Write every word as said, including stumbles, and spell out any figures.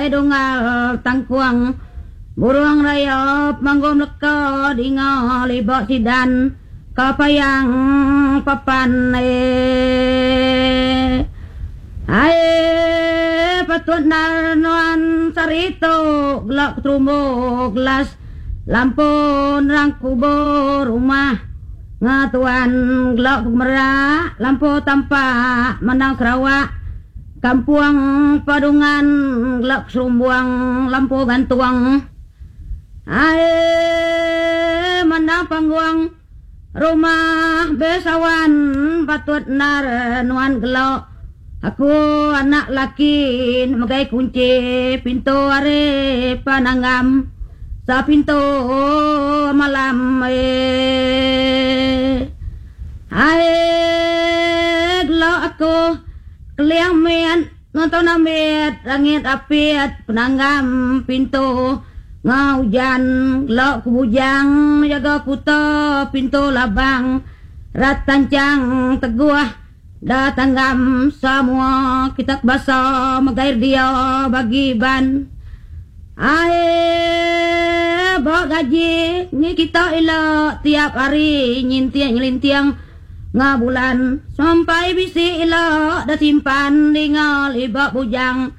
Edungal tangkuang burung rayap manggum leka dinga libak sidan kapayang papan eh. Ai patut nar nuan sarito gelak terumbu gelas lampu nerang kubur rumah ngatuan gelak merak lampu tampak menang Sarawak kampung padungan gelak serumbuang lampu gantung ai menang pangguang rumah besawan patut nar nuan gelak aku anak laki megai kunci pintu ari pananggam sa pintu malam eh. Ai gelak aku keliang mian nonton amit langit apit penanggam pintu ngaujan gelak kubujang jaga kuta pintu labang rat tancang teguh datanggam semua kita basa megair dia bagi ban. Ai bawa gaji ni kita elok tiap hari nyintiang nyelintiang ngabulan sampai bisi elok dah simpan dingal ibak bujang.